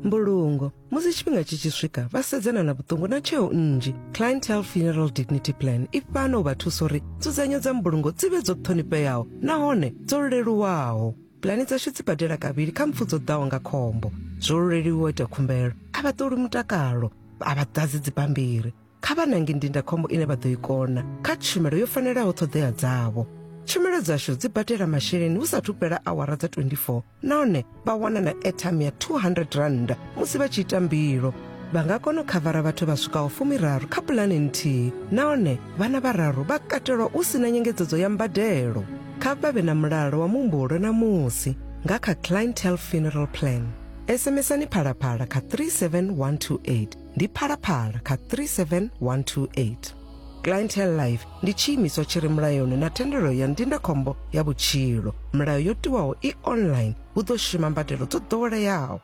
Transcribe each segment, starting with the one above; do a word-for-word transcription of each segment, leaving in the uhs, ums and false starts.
Mbulungo musi tshifhinga tshi tshi swika vha sedzana na vhuṱungu na tsheo nnzhi. Clientele Funeral Dignity Plan i fhano u vha thusa uri nzudzanyo dza mbulungo dzi vhe dzo ṱhonifheaho nahone dzo leluwaho. Pulani dzashu dzi badela kavhili kha mpfu dzo ḓaho nga khombo. Zwo leluwa u ita khumbelo, a vha ṱoli mutakalo, a vha ḓadzi dzibammbiri. Kha vha nange ndindakhombo ine vha ḓo i kona kha tshumelo yo fanelaho ṱhoḓea dzavho. Tshumelo dzashu dzi badela masheleni hu sathu fhela awara dza twenty-four nahone vha wana na airtime ya two hundred rand musi vha tshi ita mbilo. Vha nga kona u khavara vhathu vha swikaho fumiraru kha pulani nthihi nahone vhana vhararu vha katelwa hu sina nyengedzedzo ya mbadelo. Kha vha vhe na mulalo wa muhumbulo na musi nga kha Clientele Funeral Plan. SMSani Phalaphala kha three seven one two eight. Ndi Phalaphala kha three seven one two eight. Clientele Life ndi tshiimiswa tshi re mulayoni na thendelo ya ndindakhombo ya vhutshilo. Milayo yo tiwaho i online, hu ḓo shuma mbadelo dzo ḓoweleaho.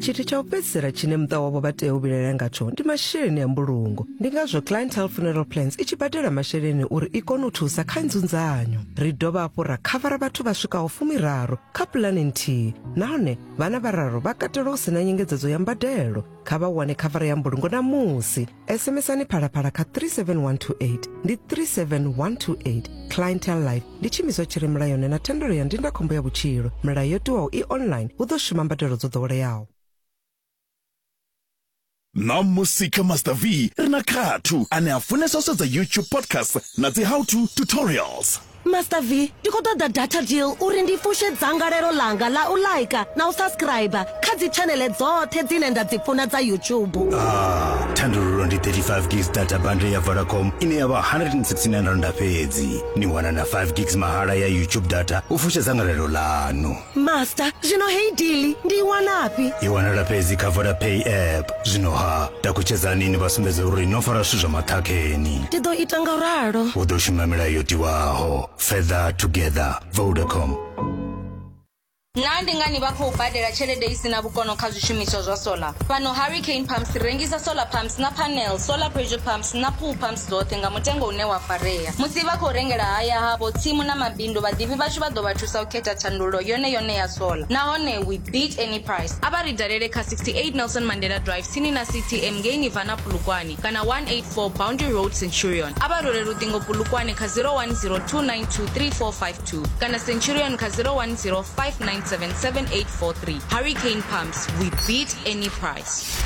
Tshithu tsha u fhedzisela tshine muṱa wavho vha tea u vhilaela ngatsho ndi masheleni a mbulungo. Ndi ngazwo Clientele Funeral Plans i tshi badela masheleni uri i kone u thusa kha nzunzanyo. Ri dovha hafhu ra khavara vhathu vha swikaho fumiraru kha pulani nthihi nahone vhana vhararu vha katelwa hu sina nyengedzedzo ya mbadelo. Kha vha wane khavara ya mbulungo na musi. SMSani Phalaphala kha three seven one two eight. Ndi three seven one two eight. Clientele Life ndi tshiimiswa tshi re mulayoni na thendelo ya ndindakhombo ya vhutshilo. Milayo yo tiwaho i online, hu ḓo shuma mbadelo dzo ḓoweleaho. Ṋamusi kha Master V ri na Khathu ane a funesa u sedza YouTube podcast na dzi how to tutorials. Master V, ndi khou ṱoḓa data deal uri ndi fushe dzangalelo ḽanga ḽa u like na u subscribe kha dzi tshanele dzoṱhe dzine nda dzi funa dza YouTube. Ah, thandululo ndi thirty-five gigs data bundle ya Vodacom ine ya vha one hundred sixty-nine rand fhedzi. Ni wana na five gigs mahala ya YouTube data u fusha dzangalelo ḽanu. Master, zwino heyi deal ndi i wanafhi? I wanala fhedzi kha Vodapay app. Zwino ha, takutshedzani ni vha sumbedza uri no fara zwithu zwa maṱhakheni. Ndi ḓo ita nga ralo. Hu ḓo shuma milayo yo tiwaho. Further together. Vodacom. Naa ndi ngani vha khou badela tshelede i sina vhukono kha zwishumiswa zwa solar? Fhano Hurricane Pumps ri rengisa solar pumps na panels, solar pressure pumps na pool pumps dzoṱhe nga mutengo une wa farea. Musi vha khou rengela haya havho, tsimu na mabindu, vhaḓivhi vhashu vha ḓo vha thusa u khetha thandululo yone yone ya solar. Nahone we beat any price. A vha ri dalele kha sixty-eight Nelson Mandela Drive tsini na C T M ngei Nirvana Polokwane kana one eight four Boundary Road Centurion. A vha rwele luṱingo Polokwane kha zero one zero two nine two three four five two kana Centurion kha zero one zero five nine seven seven eight four three. Hurricane Pumps, we beat any price.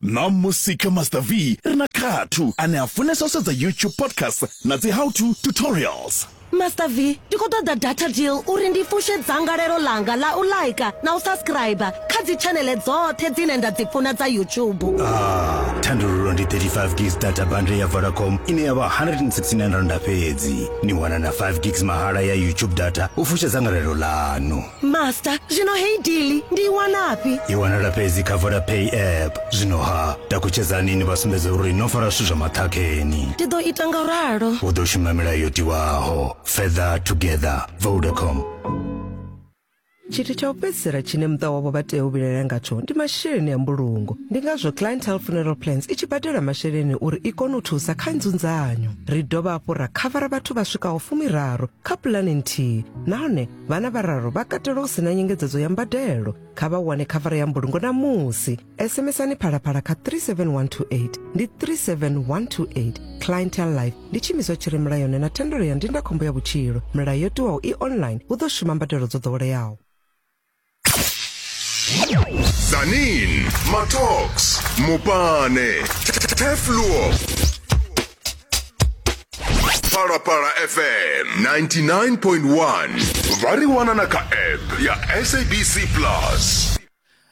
Ṋamusi kha Master V ri na Khathu ane a funesa u sedza YouTube podcast na dzi how to tutorials. Master V, ndi khou ṱoḓa data deal uri ndi fushe dzangalelo ḽanga ḽa u like na u subscribe kha dzi tshanele dzoṱhe dzine nda dzi funa dza YouTube. Ah, thandululo ndi thirty-five gigs data bundle ya Vodacom ine ya vha one hundred sixty-nine rand fhedzi. Ni wana na five gigs mahala ya YouTube data u fusha dzangalelo ḽanu. Master, zwino heyi deal ndi i wanafhi? I wanala fhedzi kha Vodapay app. Zwino ha, takutshedzani ni vha sumbedza uri no fara zwithu zwa maṱhakheni. Ndi ḓo ita nga ralo. Hu ḓo shuma milayo yo tiwaho. Further together. Vodacom. Tshithu tsha u fhedzisela tshine muṱa wavho vha tea u vhilaela ngatsho ndi masheleni a mbulungo. Ndi ngazwo Clientele Funeral Plans i tshi badela masheleni uri i kone u thusa kha nzunzanyo. Ri dovha hafhu ra khavara vhathu vha swikaho fumiraru kha pulani nthihi nahone vhana vhararu vha katelwa hu sina nyengedzedzo ya mbadelo. Kha vha wane khavara ya mbulungo na musi. SMSani Phalaphala kha three seven one two eight. Ndi three seven one two eight. Clientele Life ndi tshiimiswa tshi re mulayoni na thendelo ya ndindakhombo ya vhutshilo. Milayo yo tiwaho i online, hu ḓo shuma mbadelo dzo ḓoweleaho. Zanin, Matox, Mupane, Tefluo, Phalaphala F M ninety-nine point one. Vha ri wana na kha app ya S A B C Plus.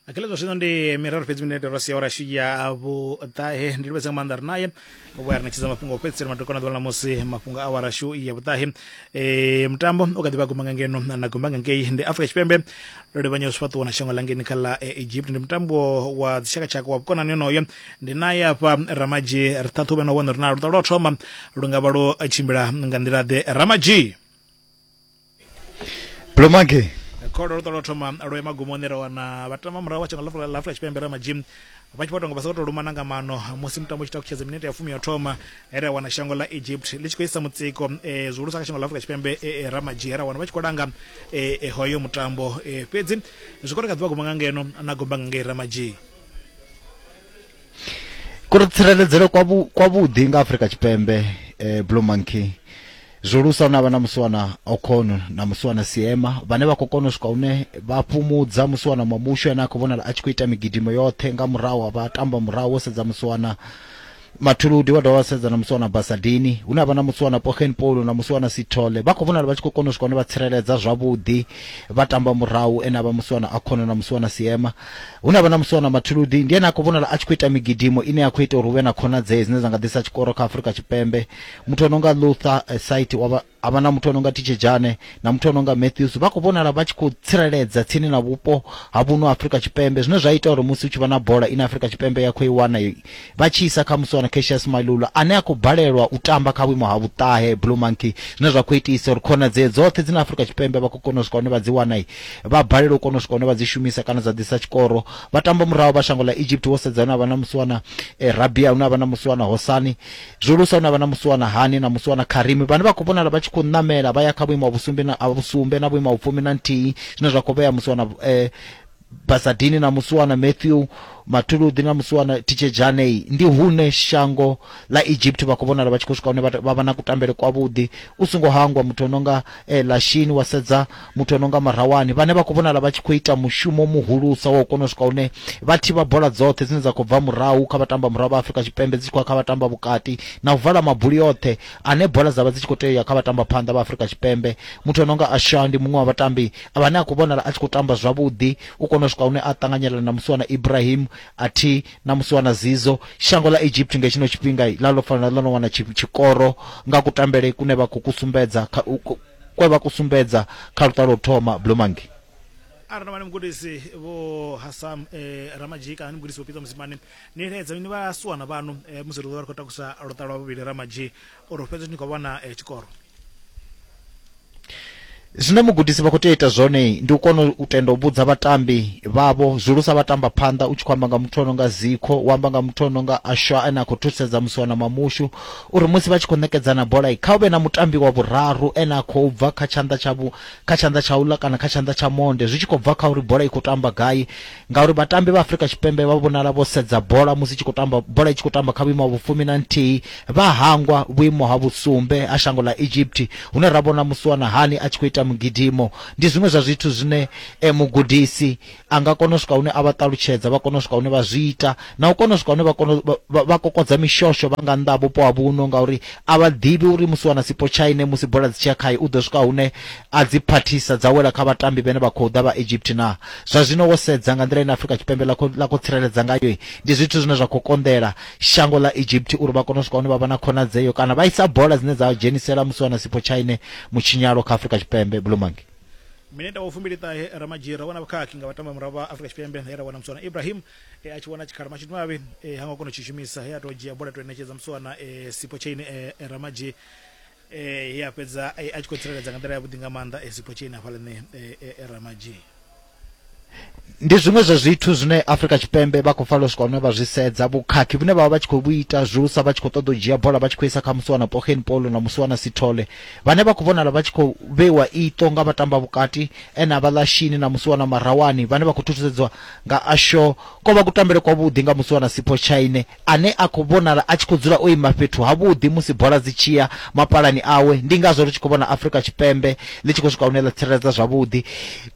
Akelezo zwino ndi miraru fhedzi minete ro sia ora ya vhuṱahe. Ndi livhesa nga maanḓa ri naye vho ya ri ṋetshedza mafhungo a u fhedzisela madokwana ḓuvha ḽa musi mafhungo a awara shu ya vhuṱahe. E, mutambo u kha ḓi vha guma nga ngeno na guma nga ngei ndi Afrika Tshipembe ro livhanya zwifhaṱuwo na shango ḽa ngeni kha ḽa Egypt. Ndi mutambo wa dzitshakatshaka wa vhukonani onoyo. Ndi naye afha Ramadzhi ri ṱhaṱhuvhe na u vhona uri na luṱa lwa u thoma lu nga vha lwo tshimbila nga nḓila ḓe. Ramadzhi Blomake Kholo ro thoma lwo magumoni ra wana vhatama murahu wa shango ḽa Afrika Tshipembe Ramadzhi vha tshi vho tonga vha sa tou lumana nga mano musi mutambo u tshi takutshedza minete ya fumi ya thoma ra wana shango ḽa Egypt ḽi tshi khou isa mutsiko eh, zwihulusa kha shango ḽa Afrika Tshipembe eh, Ramadzhi ra wana vha tshi khou langa eh, hoyo mutambo eh, fhedzi zwi kone kha ḓivha guma nga ngeno na gomba nga ngei Ramadzhi kuri tsireledzele kwa vhuḓi nga Afrika Tshipembe eh, Blue Monkey zwihulusa na vha na musiwana Okon na musiwana Siema vhane vha khou kona u swika hune vha fhumudza musiwana Mamushu ane a khou vhonala a tshi khou ita migidimo yoṱhe nga murahu vha tamba murahu wo sedza musiwana Mathuludi wa dovha sedza na musiwana Basadini hune havha na musiwana Pogen Polo na musiwana Sithole vha khou vhonala vha tshi khou kona u swika hune vha tsireledza zwavhuḓi vha tamba murahu ene avha musiwana Akhono na musiwana Siema hune havha na musiwana Mathuludi ndi ene a khou vhonala a tshi khou ita migidimo ine ya khou ita uri hu vhe na khonadzeo dzine dza nga ḓisa tshikoro kha Afrika Tshipembe. Muthu ano nga Luther Site wa avha na muthu ano nga Titshejane na muthu ano nga Matthews vha khou vhonala vha tshi khou tsireledza tsini na vhupo ha vhuno Afrika Tshipembe zwine zwa ita uri musi u tshi vha na bola ine Afrika Tshipembe ya khou i wana vha tshi isa kha musiwana Cassius Mailula ane a khou balelwa u tamba kha vhuimo ha vhuṱahe Blue Monkey zwine zwa khou itisa uri khonadzeo dzoṱhe dzine Afrika Tshipembe vha khou kona u swika hune vha dzi wana vha balelwa u kona u swika hune vha dzi shumisa kana dza ḓisa tshikoro. Vha tamba murahu vha shango ḽa Egypt wo sedza hune havha na musiwana eh, Rabia hune havha na musiwana Hosani zwihulusa hune havha na musiwana Hani na musiwana Karimi vhane vha khou vhonala vha tshi khou namela vha ya kha vhuimo ha vhusumbe na vhusumbe na vhuimo ha vhufumi na nthihi zwine zwa khou vhea musiwana eh, Basadini na musiwana Matthew Mathuludi na musiwana Titshejane. Ndi hune shango ḽa Egypt vha khou vhonala vha tshi khou swika hune vha vha na kutambele kwavhuḓi u songo hangwa muthu ononga eh, Lashini wa sedza muthu ononga Marawani vhane vha khou vhonala vha tshi khou ita mushumo muhulusa wa u kona u swika hune vha thivha bola dzoṱhe dzine dza khou bva murahu kha vhatamba murahu vha Afrika Tshipembe dzi tshi khou kha vhatamba vhukati na u vala mabuli oṱhe ane bola dza vha dzi tshi khou tea kha vhatamba phanḓa vha Afrika Tshipembe. Muthu ononga Asha ndi muṅwe wa vhatambi vhane a khou vhonala a tshi khou tamba zwavhuḓi u kona u swika hune a ṱanganyela na musiwana Ibrahim athi na musiwana Zizo. Shango ḽa Egypt nga tshino tshifhinga ḽa ḽo fanela ḽo no wana tshikoro nga kutambele kune vha khou kusumbedza kwe vha kusumbedza kha luṱa lwo thoma Blue Monkey. Arali vha mugudisi vho Hassam eh, Ramadzhi kana ni mugudisi vho Pitso Mosimane ni ledza ni vha suwana vhanu eh, musi ri ḓo vha ri khou takusa luṱa lwa vhuvhili Ramadzhi uri fhedzi ni khou vhona eh, tshikoro. Zwine mugudisi vha khou tea ita zwone ndi u kona u tenda u vhudza vhatambi vhavho zwihulusa vhatamba phanḓa u tshi khou amba nga muthu ono nga Zikho u amba nga muthu ono nga Ashwa ane a khou thusedza musiwana Mamushu uri musi vha tshi khou ṋekedzana bola kha hu vhe na mutambi wa vhuraru ene a khou bva kha tshanḓa tsha vhu kha tshanḓa tsha uḽa kana kha tshanḓa tsha monde zwi tshi khou bva kha uri bola i khou tamba gai ngauri vhatambi vha Afrika Tshipembe vha vhonala vho sedza bola musi tshi khou tamba bola i tshi khou tamba kha vhuimo ha vhufumi na nthihi vha hangwa vhuimo ha vhusumbe ha shango ḽa Egypt hune ra vhona musiwana Hani a tshi khou ita mugidimo. Ndi zwiṅwe zwa zwithu zwine eh, mugudisi a nga kona u swika hune a vha ṱalutshedza vha kona u swika hune vha zwi ita na u kona u swika hune vha kona vha kokodza mishosho vha nga nnḓa vhupo ha vhuno ngauri a vha ḓivhi uri musi wana Sipho Chaine musi bola dzi tshiya khaye u ḓo swika hune a dzi phathisa dza wela kha vhatambi vhane vha khou ḓa vha Egypt na. Zwa zwino wo sedza nga nḓila ine Afrika Tshipembe ḽa khou ḽa khou tsireledza ngayo ndi zwithu zwine zwa khou konḓela shango ḽa Egypt uri vha kone u swika hune vha vha na khonadzeo kana vha isa bola dzine dza dzhenisela musi wana Sipho Chaine mutshinyalo kha Afrika Tshipembe Blue Monkey. Minete wa fumbili ṱahe Ramadzhi ra wana vhukhakhi nga vhatamba murahu vha Afrika Tshipembe he ra wana musiwana Ibrahim e, a tshi wana tshikhala mashudu mavhi e, ha ngo kona u tshi shumisa he a tou dzhia bola to ṋetshedza musiwana e, Sipho Chaine e, e, Ramadzhi e, he a fhedza e, a tshi khou tsireledza nga nḓila yavhuḓi nga maanḓa e, Sipho Chaine hafhaḽani e, e, e, Ramadzhi. Ndi zwiṅwe zwa zwithu zwine Afrika Tshipembe vha khou fanela u swika hune vha zwi sedza vhukhakhi vhune vha vha tshi khou vhu ita zwihulusa vha tshi khou ṱoḓa u dzhia bola vha tshi khou isa kha musiwana Pogen Polo na musiwana Sithole vhane vha khou vhonala vha tshi khou vheiwa iṱo nga vhatamba vhukati ene avha Lashini na musiwana Marawani vhane vha khou thusedzwa nga Asho ko vha kutambele kwavhuḓi nga musiwana Sipho Chaine ane a khou vhonala a tshi khou dzula o ima fhethu havhuḓi musi bola dzi tshiya mapalani awe. Ndi ngazwo ri tshi khou vhona Afrika Tshipembe ḽi tshi khou swika hune ḽa tsireledza zwavhuḓi.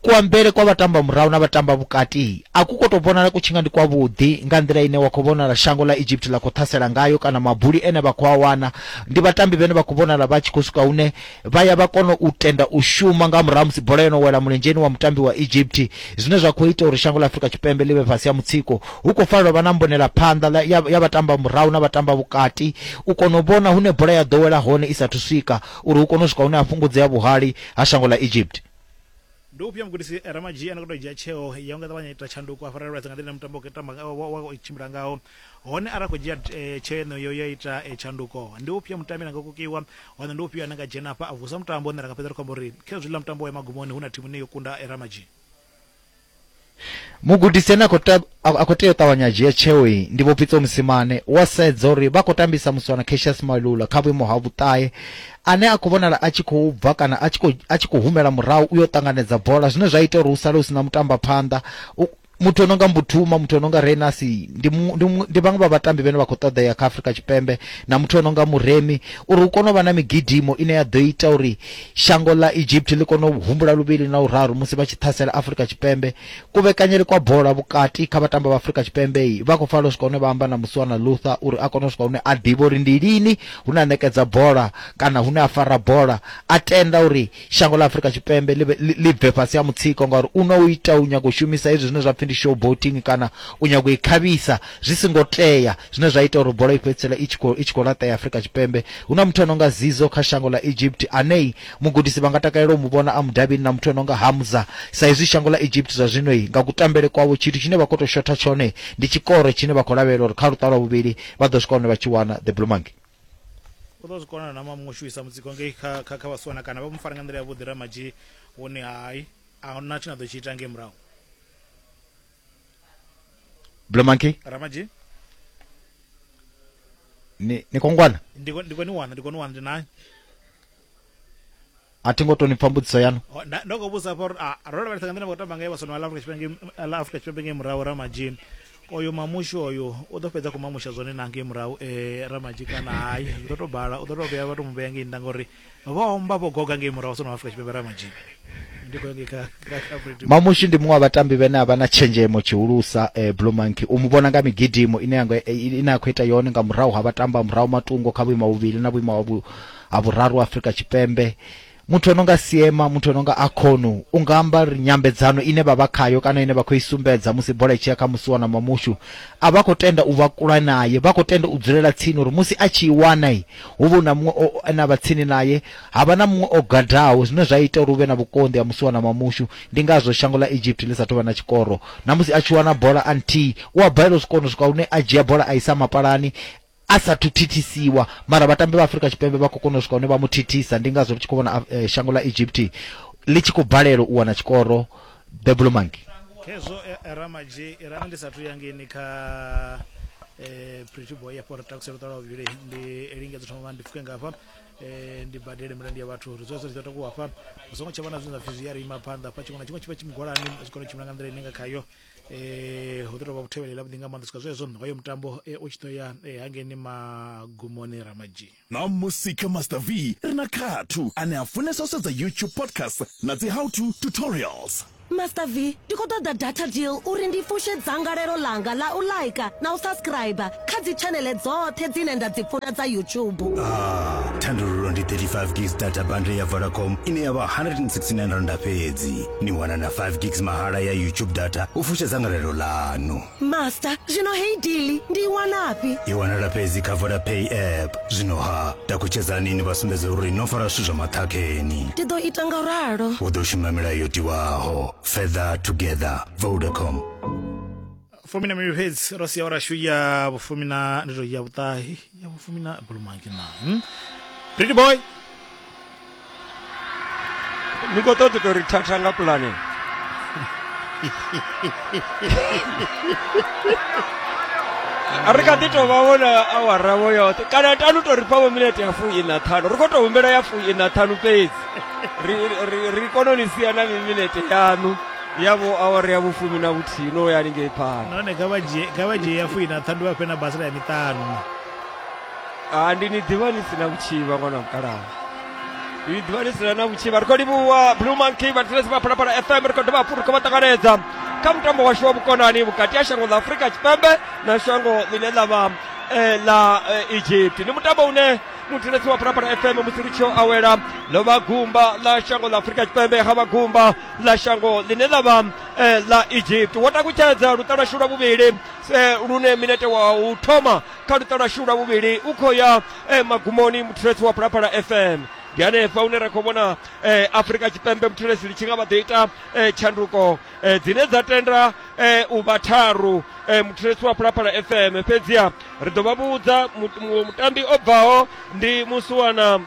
Kuambele kwa vhatamba murahu na vhatamba vhukati a ku khou tou vhonala ku tshinga ndi kwavhuḓi nga nḓila ine wa khou vhonala shango ḽa Egypt ḽa khou ṱhasela ngayo kana mabuli ene vha khou a wana ndi vhatambi vhane vha khou vhonala vha tshi khou swika hune vha ya vha kona u tenda u shuma nga murahu musi bola yo no wela mulenzheni wa mutambi wa Egypt zwine zwa khou ita uri shango ḽa Afrika Tshipembe ḽi vhe fhasi ha mutsiko. Hu khou fanela vha na mbonela phanḓa ya, ya vhatamba murahu na vhatamba vhukati u kona u vhona hune bola ya ḓo wela hone i sathu swika uri hu kone u swika hune ha fhungudzea vhuhali ha shango ḽa Egypt. Ndi ufhio mugudisi Ramadzhi ane khou tou dzhia tsheo ya u nga ṱavhanya ita tshanduko a farelwa nga nḓila mutambo tamba wa tshimbila ngaho, hone arali khou dzhia tsheo yeneyo ya ita tshanduko ndi ufhio mutambi ane nga kokiwa, hone ndi ufhio ane nga dzhena hafha a vusa mutambo une ra nga fhedza ri khou amba uri khezwi ḽa mutambo wa magumoni hu na thimu ine yo kunda Ramadzhi. Mugudisi ane a khou tea u ṱavhanya dzhia tsheo iyi ndi Vho Pitso Mosimane, wa sedza uri vha khou tambisa muswana Cassius Mailula kha vhuimo ha vhuṱahe ane a khou vhonala a tshi khou bva kana a tshi khou a tshi khou humela murahu u yo ṱanganedza bola, zwine zwa ita uri hu sale hu sina mutamba phanḓa. Muthu ono nga Mbuthuma, muthu ono nga Renasi ndi ndi vhaṅwe vha vhatambi vhane vha khou ṱoḓea kha Afrika Tshipembe, na muthu ono nga Muremi, uri hu kone u vha na migidimo ine ya ḓo ita uri shango ḽa Egypt ḽi kone u humbula luvhili na uraru musi vha tshi ṱhasela Afrika Tshipembe. Kuvhekanyele kwa bola vhukati kha vhatambi vha Afrika Tshipembe vha khou fanela u swika hune vha amba na Muswana Luther uri a kone u swika hune a ḓivhe uri ndi lini hune a ṋekedza bola kana hune a fara bola, a tenda uri shango ḽa Afrika Tshipembe ḽi bve fhasi ha mutsiko, ngauri u no ita u nyaga u shumisa hezwi zwine zwa pfi ndi showboating kana u nyaga u i khavhisa zwi singo tea, zwine zwa ita uri bola i fhedzisela i tshi khou i tshi khou laṱea Afrika Tshipembe. Hu na muthu ano nga Zizo kha shango ḽa Egypt ane mugudisi vha nga takalela u mu vhona a mudavhini, na muthu ano nga Hamza, sa izwi shango ḽa Egypt zwa zwino nga kutambele kwavho tshithu tshine vha khou tou shotha tshone ndi tshikoro tshine vha khou lavhelela uri kha luṱa lwa vhuvhili vha ḓo swika hune vha tshi wana the Blue Monkey. U ḓo zwi kona na mamuṅwe shumisa mutsiko ngei kha kha kha vhaswana kana vha mu fara nga nḓila ya vhuḓi Ramadzhi hune hai a huna tshine a ḓo tshi ita ngei murahu. Blue Monkey Ramadzhi ni ni kongwana ndi ndi koni wana ndi koni wana ndi nayo a thi ngo to ni pfa mbudziso yanu. Ndo khou vhudzisa hafha uri a ro lavhelesa nga nḓila vha khou tamba ngayo vhaswana vha ḽa Afrika Tshipembe ḽa Afrika Tshipembe ngei murahu Ramadzhi, oyo mamushu oyo u ḓo fhedza khou mamusha zwone na ngei murahu eh Ramadzhi kana hai zwi ḓo tou bala, u ḓo tou vhuya vha tou mu vhea ngei nnḓa ngori vho omba vho goga ngei murahu vhaswana vha Afrika Tshipembe Ramadzhi. Mamushi ndi muṅwe wa vhatambi vhane a vha na tshenzhemo tshihulusa eh, Blue Monkey u mu vhona nga migidimo ine ya ine a khou ita yone nga murahu ha vhatamba murahu matungo kha vhuimo vhuvhili na vhuimo ha vhuraru Afrika Tshipembe. Muthu ono nga Siema, muthu ono nga Akhonu, u nga amba ri nyambedzano ine vha vha khayo kana ine vha khou i sumbedza musi bola i tshi ya kha Musiwana Mamushu, a vha khou tenda u vha kula naye, vha khou tenda u dzulela tsini uri musi a tshi i wana hu vhe na muṅwe ane a vha tsini naye, ha vha na muṅwe o gadaho, zwine zwa ita uri hu vhe na vhukonḓi ha Musiwana Mamushu. Ndi ngazwo shango ḽa Egypt ḽi sa tou vha na tshikoro, na musi a tshi wana bola a nthihi u a balelwa u swika hone swika hune a dzhia bola a isa mapalani a sa thu thithisiwa, mara vhatambi vha Afrika Tshipembe vha khou kona u swika hune vha mu thithisa. Ndi ngazwo ri tshi khou vhona eh, shango ḽa Egypt ḽi tshi khou balelwa u wana tshikoro the Blue Monkey. Khezwo Ramadzhi rana ndi sathu ya ngeni kha eh Pretty Boy ya fora takusela ṱola vhuvhili ndi lingedza thoma ndi pfuke ngafha eh ndi badele milandu ya vhathu ri zwezwo zwi ḓo takuwa hafha hu songo tsha vha na zwine zwa pfi zwi ya ri ima phanḓa hafha tshiṅwe na tshiṅwe tshi vha tshi mugwalani zwi kone u tshimbila nga nḓila ine nga khayo eh hu ḓo tou vha vhuthevhele vhuḓi nga maanḓa swika zwezwo hoyo mutambo u tshi ḓo ya hangeini magumoni Ramadzhi. Na musi kha Master V ri na Khathu ane a funesa u sedza YouTube podcast na dzi how to tutorials. Master V, ndi khou ṱoḓa data deal uri ndi fushe dzangalelo ḽanga ḽa u like na u subscribe kha dzi channel dzoṱhe dzine nda dzi funa dza YouTube. Ah, thandululo ndi thirty-five gigs data bundle ya Vodacom ine ya vha one hundred sixty-nine rand fhedzi. Ni wana na five gigs mahala ya YouTube data u fusha dzangalelo ḽanu. Master, zwino heyi deal ndi i wanafhi? I wanala fhedzi kha Vodapay app. Zwino ha, takutshedzani ni vha sumbedze uri no fara zwithu zwa maṱhakheni. Ndi ḓo ita nga ralo. U ḓo shuma milayo yo tiwaho. Feather together. Vodacom. Fumi na mivhili fhedzi ro sia ora shu ya vhufumi na ndi to ya vhuṱahi ya vhufumi na Blue Monkey na. Hmm? Pretty Boy. Ni khou ṱoḓa to ri thatha nga pulane. Ri kha ḓi tou vha vhona awara vho yoṱhe kana tanu to ri fha vho minete ya fuiṋa ṱhanu, ri khou tou humbela ya fuiṋa ṱhanu fhedzi ri ri ri kone u ni sia na minete yaṋu ya vho awara ya vhufumi na vhuthihi no ya haningei phanḓa. Nahone kha vha dzhie kha vha dzhie ya fuiṋa ṱhanu vha fhe na basela ya miṱanu. Ah, ndi ni ḓivha ni sina vhutshivha ṅwana wa mukalaha, ndi ḓivha ni sina na vhutshivha. Ri khou livhuwa Blue Monkey vhathetshelesi vha Phalaphala F M, ri khou dovha hafhu ri khou vha ṱanganedza kha mutambo washu wa vhukonani vhukati ha shango ḽa Afrika Tshipembe na shango ḽine ḽa vha ḽa Egypt. Ndi mutambo une muthetshelesi wa Phalaphala F M musi ri tshi awela ḽo vha gumba ḽa shango ḽa Afrika Tshipembe ha vha gumba ḽa shango ḽine ḽa vha ḽa Egypt. Wo takutshedza luṱa lwashu lwa vhuvhili lune minete wa u thoma kha luṱa lwashu lwa vhuvhili u khou ya magumoni. Muthetshelesi wa Phalaphala F M Ndi hanefha hune ra khou vhona eh, Afrika Tshipembe muthelesi ḽi tshi nga vha ḓo ita eh, tshanduko eh, dzine dza tenda eh, u vha tharu eh, muthelesi wa Phalaphala F M. Fhedziha ri ḓo vha vhudza mutambi o bvaho ndi musiwana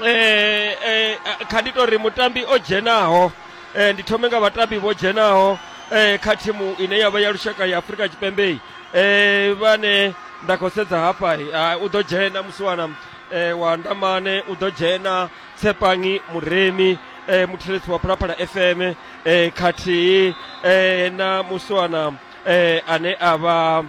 eh, eh, kha ndi tori mutambi o dzhenaho eh, ndi thome nga vhatambi vho dzhenaho eh, kha thimu ine ya vha ya lushaka ya Afrika Tshipembe eh, vhane nda khou sedza hafha u ḓo dzhena musiwana eh, wa Ndamane, u ḓo dzhena Tsepangi Muremi eh, muthelesi wa Phalaphala F M eh, khathihi eh, na musiwana eh, ane a vha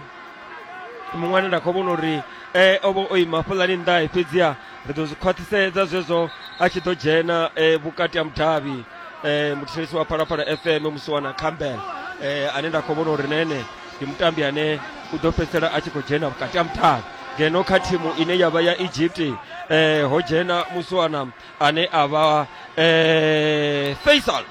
muṅwe ane nda khou vhona uri eh, o vha o ima fhaḽani nnḓa, fhedziha ri ḓo zwi khwaṱhisedza zwezwo a tshi ḓo dzhena eh, vhukati ha mudavhi eh, muthelesi wa Phalaphala F M musiwana Campbell eh, ane nda khou vhona uri nene ndi mutambi ane u ḓo fhedzisela a tshi khou dzhena vhukati ha mudavhi. Ngeno kha thimu ine ya vha ya Egypt eh, ho dzhena musiwana ane a vha eh, Faisal,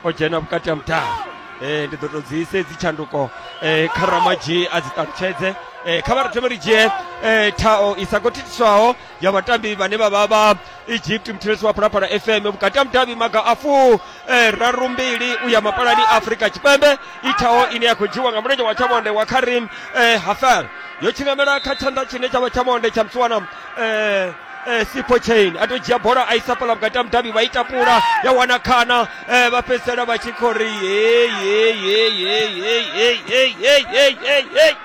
o dzhena vhukati ha mudavhi. Eh, ndi ḓo tou dzi ise dzi tshanduko eh, kha Ramadzhi a dzi ṱalutshedze. Eh, kha vha ri thome ri dzhie eh, thao i sa khou thithiswaho ya vhatambi vhane vha vha vha Egypt muthelesi wa Phalaphala F M vhukati ha mudavhi maga a fu eh, raru mbili u ya mapalani Afrika Tshipembe. I thao ine ya khou dzhiwa nga mulenzhe wa tshamonde wa Karim eh, Hafel, yo tshingamela kha tshanḓa tshine tsha vha tshamonde tsha musiwana eh, eh, Sipho Chain. A to dzhia bola a isa fhaḽa vhukati ha mudavhi, vha i tapula ya wana khana eh, vha fhedzisela vha tshi khou ri hey, hey, hey, hey, hey, hey, hey, hey, hey, hey, hey.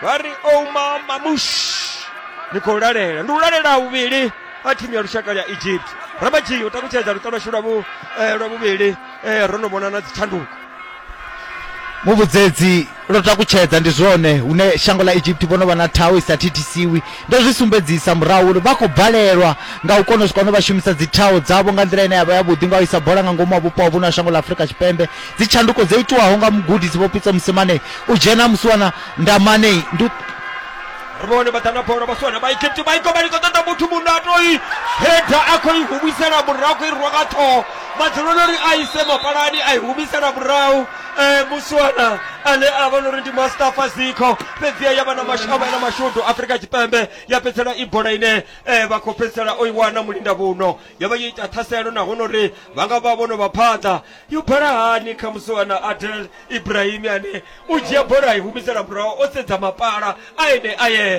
Vha ri Ouma Mamush ni khou lalela, ndi u lalela vhuvhili ha thimu ya lushaka ya Egypt. Ramadzhi u takutshedza luṱa lwashu lwa vhu lwa vhuvhili eh, ro no vhona na dzitshanduko. Muvhudzedzi lwo takutshedza ndi zwone hune shango ḽa Egypt vho no vha na thaho i sa thithisiwi. Ndo zwi sumbedzisa murahu uri vha khou balelwa nga u kona u swika hune vha shumisa dzi thaho dzavho nga nḓila ine ya vha yavhuḓi, nga u isa bola nga ngomu ha vhupo ha vhuno ha shango ḽa Afrika Tshipembe. Dzi tshanduko dzo itiwaho nga mugudisi Vho Pitso Mosimane u dzhena musiwana Ndamane ndi ri vhone vha ḓa na bola vhasiwana vha Egypt vha i goba, ḽi khou ṱoḓa muthu muno a toi heda a khou i humisela murahu, khou i rwa nga ṱhoho madzuloni uri a ise mapalani a i humisela murahu eh, musiwana ane a vha uri ndi Mustafa Zikho. Fhedziha ya vha na mashavha na mashudu Afrika Tshipembe ya fhedzisela i bola ine eh, vha khou fhedzisela o i wana mulinda vhuno, ya vha yo ita ṱhaselo nahone uri vha nga vha vho no vha phanḓa. Yo bala hani kha musiwana Adel Ibrahim ane u dzhia bola a i humisela murahu o sedza mapala a ene a yeṱhe.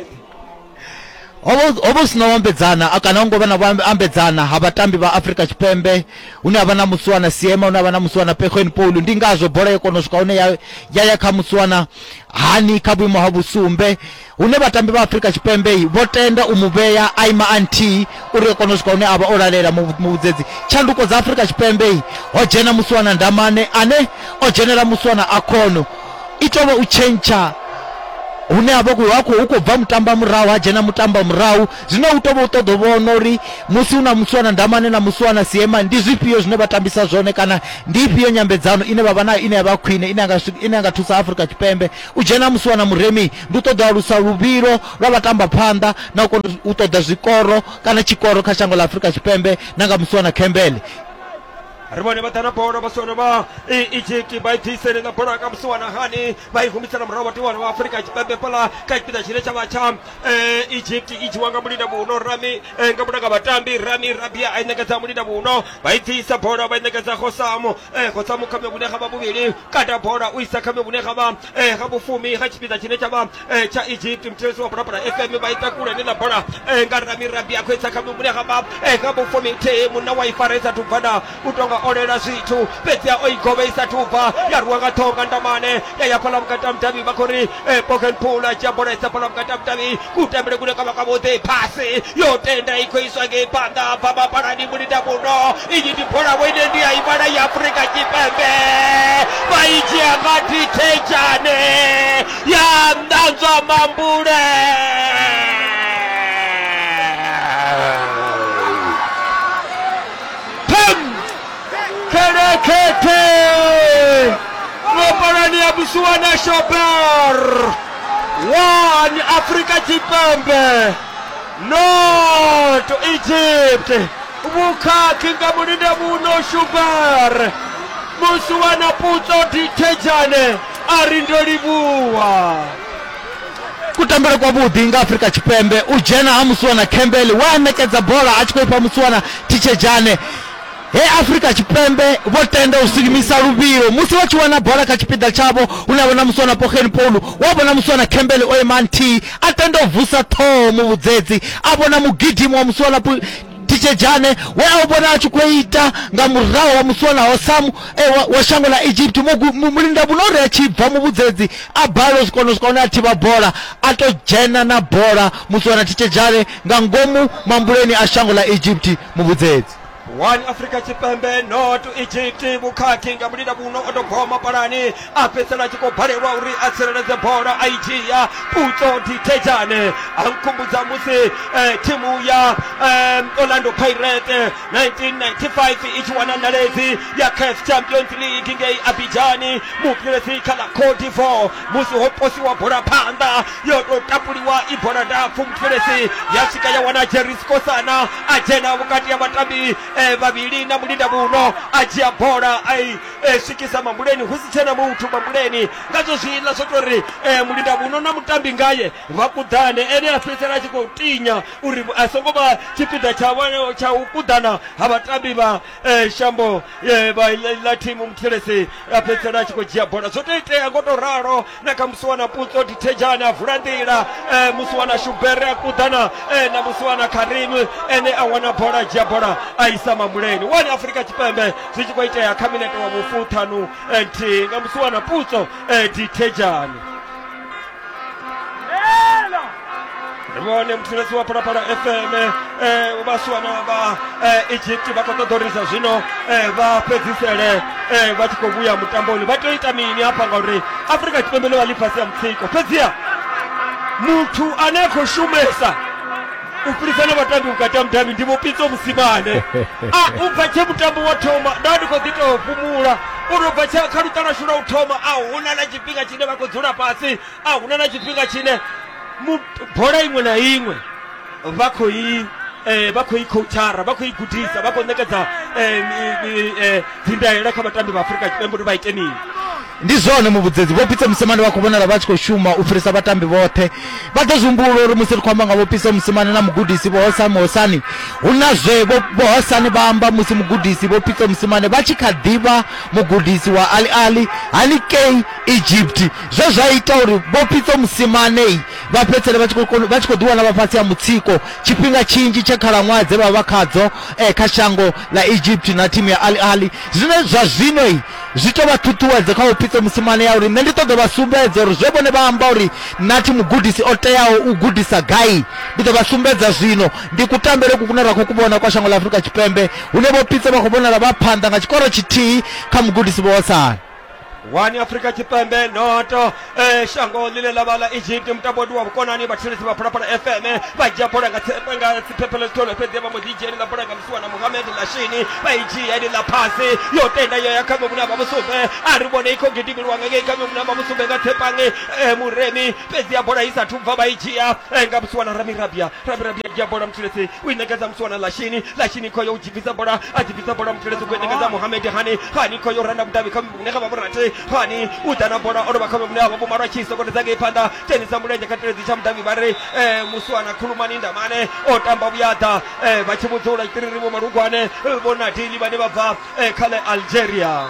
Ho vha hu sina u ambedzana kana ho ngo vha na u ambedzana ha vhatambi vha Afrika Tshipembe, hune ha vha na musiwana Siema, hune ha vha na musiwana Pekwen Paul. Ndi ngazwo bola yo kona u swika hune ya ya kha musiwana Hani kha vhuimo ha vhusumbe, hune vhatambi vha Afrika Tshipembe vho tenda u mu vhea a ima a nthihi uri a kone u swika hune a vha o lalela. Muvhudzedzi tshanduko dza Afrika Tshipembe ho dzhena musiwana Ndamane ane o dzhenela musiwana Akhono, i tou vha u tshentsha hune ha vha hu khou bva mutamba murahu ha dzhena mutamba murahu. Zwino u tou vha u ṱoḓa u vhona uri musi hu na musiwana Ndamane na musiwana Siema ndi zwifhio zwine vha tambisa zwone, kana ndi ifhio nyambedzano ine vha vha nayo ine ya vha khwine ine ya ine ya nga thusa Afrika Tshipembe. U dzhena musiwana Muremi ndi u ṱoḓa alusa luvhilo lwa vhatamba phanḓa na u kona u ṱoḓa zwikoro kana tshikoro kha shango ḽa Afrika Tshipembe na nga musiwana Campbell. Ri vhone vha ḓa na bola vhasiwana vha Egypt vha i bvisele na bola nga musiwana Hani vha i humisela murahu vhatiwana vha Afrika Tshipembe fhaḽa kha tshipiḓa tshine tsha vha tsha Egypt. I dzhiwa nga mulinda vhuno Rami nga muda nga vhatambi Rami Rabia a i ṋekedza mulinda vhuno, vha i bvisa bola vha i ṋekedza Khosamu Khosamu kha vhune ha vha vhuvhili kata bola u isa kha vhune ha vha ha vhufumi kha tshipiḓa tshine tsha vha tsha Egypt. Muthelesi wa Phalaphala F M vha i takula ine ḽa bola nga Rami Rabia khou isa kha vhune ha vha ha vhufumi nthihi, munna wa i faresa tubvana u tonga olela zwithu fhedzi o i govha i sathu bva ya rwiwa nga ṱhoho nga Ndamane ya ya fhaḽa vhukati ha mudavhi. Vha khou ri Poken Pool a dzhia bola isa fhaḽa vhukati ha mudavhi, kutambele kune kwa vha kwavhuḓi, phasi yo tenda i khou iswa ngei phanḓa bva mapalani mulinda vhuno. Iyi ndi bola vho ine ndi ya i vhala ya Afrika Tshipembe, vha i dzhia nga Dithejane ya ṋanzwa mambule. Kelekete mapalani ya musiwana Shober one Afrika Tshipembe not Egypt. Vhukhakhi nga mulinda vhuno Shuber, musiwana Putso Dithejane a ri ndo livhuwa. Kutambele kwavhuḓi nga Afrika Tshipembe, u dzhena ha Musiwana Campbell wa ṋekedza bola a tshi khou ifha Musiwana Thitshedzhane. He Afrika Tshipembe vho tenda u silimisa luvhilo musi vha tshi wana bola kha tshipiḓa tshavho, hune vhona Musiwana Pogeni Paul, wa vhona Musiwana Campbell o ima nthihi, a tenda u vusa ṱhoho muvhudzedzi, a vhona mugidimo wa Musiwana Thitshedzhane we a vhona a tshi khou ita nga murahu wa Musiwana Hosamu e, wa shango ḽa Egypt. Mulinda vhunori a tshi bva muvhudzedzi a balelwa u kona u swika hune a thivha bola, a to dzhena na bola Musiwana Thitshedzhane nga ngomu mambuleni a shango ḽa Egypt muvhudzedzi. One Afrika Tshipembe not Egypt. Vhukhakhi nga mulinda vhuno o tou goma palani, a fhedzisela a tshi khou balelwa uri a tsireledze bola, a i dzhia Putso Dithejane. A nkhumbudza musi eh, thimu ya eh, Orlando Pirates nineteen ninety-five i tshi wana ṋaledzi ya CAF Champions League ngei Abidjan, mupilesi kha ḽa Cote d'Ivoire, musi ho posiwa bola phanḓa yo tou tapuliwa i bola ndapfu, mupilesi ya swika ya wana Jerry Skosana, a dzhena vhukati ha vhatambi eh, vhavhili na mulinda vhuno, a dzhia bola a i eh, swikisa mambuleni, hu si tshena muthu mambuleni. Ngazwo zwiḽa zwo tou ri eh, mulinda vhuno na mutambi ngaye vha kuḓane, ene a fhedzisela a tshi khou tinya uri a songo vha tshipiḓa tsha tsha u kuḓana ha vhatambi vha eh, shambo eh, vha ḽa thimu muthelesi, a fhedzisela a tshi khou dzhia bola. Zwo tou itea ngo tou ralo na kha Musiwana Putso Dithejane, a vula nḓila eh, Musiwana Shubere a kuḓana eh, na Musiwana Karim, ene a wana bola, a dzhia bola a isa mambuleni. One Afrika Tshipembe zwi tshi khou itea kha minete wa vhufuṱhanu nthihi nga Musiwana Putso Dithejane. Ri vhone muthelesi wa Phalaphala F M eh, vhasiwana vha eh, Egypt vha khou ṱoḓa uri zwa zwino eh, vha fhedzisele eh, vha tshi khou vhuya mutamboni. Vha tea u ita mini hafha ngauri Afrika Tshipembe ḽo vha ḽi fhasi ya mutsiko, fhedziha muthu ane a khou shumesa u fhirisa na vhatambi vhukati ha mudavhi ndi Vho Pitso Mosimane. A u bva tshe mutambo wa thoma nda ndi khou ḓi tou fhumula uri u bva tshe kha luṱa lwashu lwa u thoma a huna na tshifhinga tshine vha khou dzula fhasi, a huna na tshifhinga tshine bola iṅwe na iṅwe vha khou i eh, vha khou i coachara, vha khou i gudisa, vha khou ṋekedza eh, dzindaela kha vhatambi vha Afrika Tshipembe uri vha ite mini. Ndi zwone muvhudzedzi, Vho Pitso Mosimane vha khou vhonala vha tshi khou shuma u fhirisa vhatambi vhoṱhe. Vha ḓo zwi humbula uri musi ri khou amba nga Vho Pitso Mosimane na mugudisi Vho Hosam Hosani, hu na zwe Vho Hosani vha amba musi mugudisi Vho Pitso Mosimane vha tshi kha ḓivha mugudisi wa Al Ahly haningei Egypt, zwe zwa ita uri Vho Pitso Mosimane vha fhedzisele vha tshi khou vha tshi khou ḓiwana vha fhasi ha mutsiko tshifhinga tshinzhi tsha khalaṅwaha dze vha vha khadzo eh, kha shango ḽa Egypt na thimu ya Al Ahly. Zwine zwa zwino zwi tou vha ṱhuṱhuwedzo kha Vho Pitso Mosimane ya uri nṋe ndi ṱoḓa vha sumbedza uri zwe vhone vha amba uri nathi mugudisi o teaho u gudisa gai, ndi ḓo vha sumbedza zwino. Ndi kutambele ku kune ra khou ku vhona kwa shango ḽa Afrika Tshipembe, hune Vho Pitso vha khou vhonala vha phanḓa nga tshikoro tshithihi kha mugudisi Vho Hosani. One Afrika Tshipembe noto eh, shango ḽine ḽa vha ḽa Egypt. Mutambo ndi wa vhukonani, vhathetshelesi vha Phalaphala F M vha dzhia bola nga nga tsiphephelo tshitholo, fhedzi vha mbo ḓi dzhia ḽa bola nga Musiwana Mohamed Lashini, vha i dzhia ḽi ḽa phasi yo tenda yo ya kha muvhuna vha vhusumbe. A ri vhone i khou gidimeliwa nga ngei kha muvhuna vha vhusumbe nga Tsepangi eh, Muremi, fhedzi ya bola i sathu bva vha i dzhia eh, nga Musiwana Rami Rabia. Rami Rabia dzhia bola muthelesi u i ṋekedza Musiwana Lashini, Lashini khoyo u dzhibvisa bola, a dzhibvisa bola muthelesi u i ṋekedza Mohamed Hani, Hani khoyo randa mudavhi kha muvhuna vha vhurathi, Hani u ḓa na bola o lovha kha muvhuna vha vhumalwa tshi sokotedza ngei phanḓa, dzhenisa mulenzhe kha teledzi tsha mudavhi vha ri eh, Musiwana Khulumani Ndamane o tamba vhuyaḓa eh, vha tshi vhudzula tshitiriri vho Malugwane vho Nadili vhane vha bva eh, kha ḽa Algeria.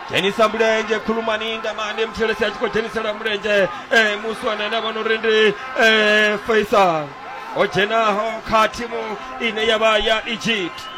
Dzhenisa mulenzhe Khulumani Ndamane, muthelesi a tshi khou dzhenisela mulenzhe eh, Musiwana ane a vha no uri ndi eh, Faisal o dzhenaho kha thimu ine ya vha ya Egypt.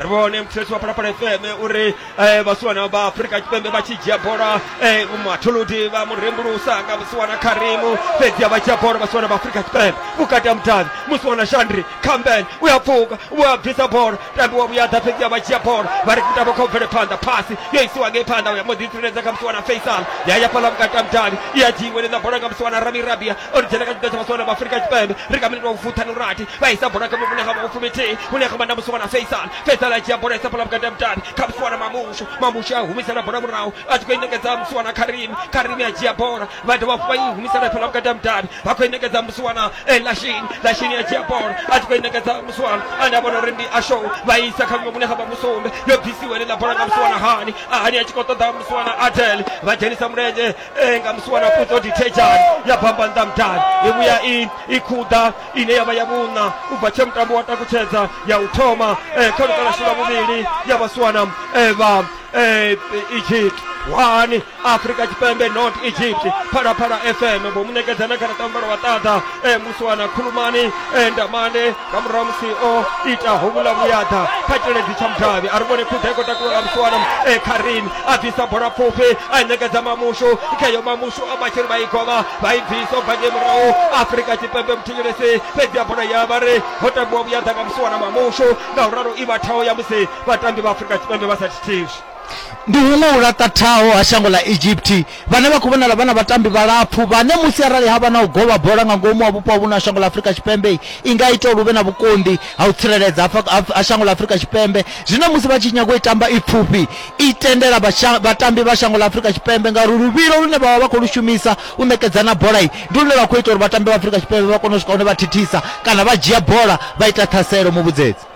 Ri vhone muthelesi wa Phalaphala F M uri eh, vhasiwana vha Afrika Tshipembe vha tshi dzhia bola eh, mathuludi vha murembulusa nga Musiwana Karimu, fhedzi vha dzhia bola vhasiwana vha Afrika Tshipembe vhukati ha mudavhi. Musiwana Shandri Campbell u ya pfuka, u ya bvisa bola, tambi wa vhuyaḓa, fhedzi vha dzhia bola vha ri mutambo kha u bvele phanḓa, phasi yo isiwa ngei phanḓa ya mbo ḓi tsireledza kha Musiwana Faisal, ya ya fhaḽa vhukati ha mudavhi, i ya dzhiiwe ḽa bola nga Musiwana Rami Rabia, o ri dzhena kha tshipiḓa tsha vhasiwana vha Afrika Tshipembe. Ri kha minete wa vhufuṱhanu rathi, vha isa bola kha muvhune ha vha vhufumithihi hune ha vha na Musiwana Faisal, Faisal Faisal a dzhia bola isa fhaḽa vhukati ha mudavhi kha musiwana Mamushu. Mamushu a humisela bola murahu a tshi khou i ṋekedza musiwana Karimi. Karimi a dzhia bola vha dovha hafhu vha i humisela fhaḽa vhukati ha mudavhi vha khou i ṋekedza musiwana Lashini. Lashini a dzhia bola a tshi khou i ṋekedza musiwana ane a vhona uri ndi Ashow, vha isa kha vhuṅwe vhune ha vha vhusumbe. Yo bvisiwa heneiḽa bola nga musiwana Hani. Hani a tshi khou ṱoḓa musiwana Adel, vha dzhenisa mulenzhe nga musiwana Putso Dithejani ya bamba nnḓa mudavhi. I vhuya i i khuḓa ine ya vha ya vhuṋa u bva tshe mutambo wa takutshedza ya u thoma kha luṱa lwashu lwa vhuvhili ya vhasiwana vha Egypt. One Afrika Tshipembe not Egypt. Phalaphala F M vho mu ṋekedza na garaṱa muvhala wa ṱaḓa musiwana Khulumani Ndamane nga murahu musi o ita hovhuḽa vhuyaḓa kha tshiledzi tsha mudavhi. A ri vhone khuḓa i khou takuwa nga musiwana Karimi a bvisa bola pfufhi a i ṋekedza Mamushu. Kheyo Mamushu a vha tshi ri vha i govha vha i bvisa u bva ngei murahu Afrika Tshipembe muthetshelesi, fhedzi ya bola ya vha ri ho tambiwa vhuyaḓa nga musiwana Mamushu, ngauralo i vha thaho ya musi vhatambi vha Afrika Tshipembe vha sa thithiswi. Ndi huṅwe u laṱa thaho ha shango ḽa Egypt vhane vha khou vhonala vha na vhatambi vhalapfu vhane musi arali ha vha na u govha bola nga ngomu ha vhupo ha vhuno ha shango ḽa Afrika Tshipembe i nga ita uri hu vhe na vhukonḓi ha u tsireledza ha shango ḽa Afrika Tshipembe. Zwino musi vha tshi nyaga u i tamba i pfufhi i tendela vhatambi vha shango ḽa Afrika Tshipembe ngauri luvhilo lune vha vha vha khou lu shumisa u ṋekedzana bola ndi lune lwa khou ita uri vhatambi vha Afrika Tshipembe vha kone u swika hune vha thithisa kana vha dzhia bola vha ita ṱhaselo. Muvhudzedzi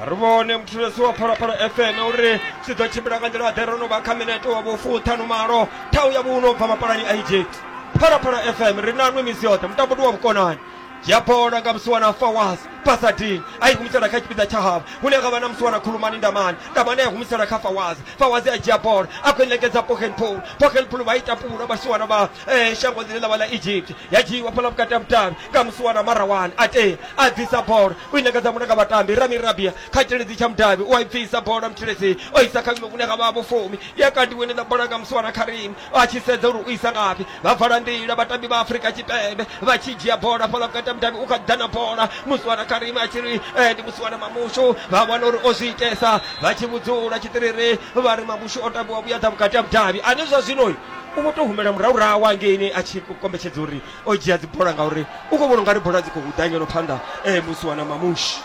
ri vhone muthulesi wa Phalaphala F M uri zwi ḓo tshimbila nga nḓila ḓe. Ro no vha kha minete wa vhufuṱhanu malo thau ya vhuno bva mapalani a Egypt. Phalaphala F M ri nanwe misi yoṱhe, mutambo ndi wa vhukonani. Dzhia bola nga musiwana Fawaz Pasadin a i humisela kha tshipiḓa tsha havho hune ha vha na musiwana Khulumani Ndamane. Ndamane a i humisela kha Fawaz. Fawaz a dzhia bola a khou i ṋekedza Pochenpool. Pochenpool vha i tapula vhasiwana vha shango ḽine ḽa vha ḽa Egypt. Ya dzhiiwa fhaḽa vhukati ha mudavhi nga musiwana Marawan. A tea a bvisa bola u i ṋekedza muṅwe nga vhatambi Rami Rabia kha tshiledzi tsha mudavhi u a i bvisa bola muthetshelesi o isa kha vhune ha vha vhufumi. Ya kandiwe ḽa bola nga musiwana Karim a tshi sedza uri u isa ngafhi. Vha vala nḓila vhatambi vha Afrika Tshipembe vha tshi dzhia bola fhaḽa vhukati ha mudavhi u kha ḓa na bola musiwana Karimi a tshi ri ndi musiwana Mamushu. Vha wana uri o zwi itesa vha tshi vhudzula tshiṱiriri vha ri Mamushu o tambiwa vhuyaḓa vhukati ha mudavhi. Ane zwa zwino u vho tou humela murahu hangeini a tshi kombetshedza uri o dzhia dzibola ngauri u khou vhona ungari bola dzi khou ḓa ngeno phanḓa musiwana Mamushu.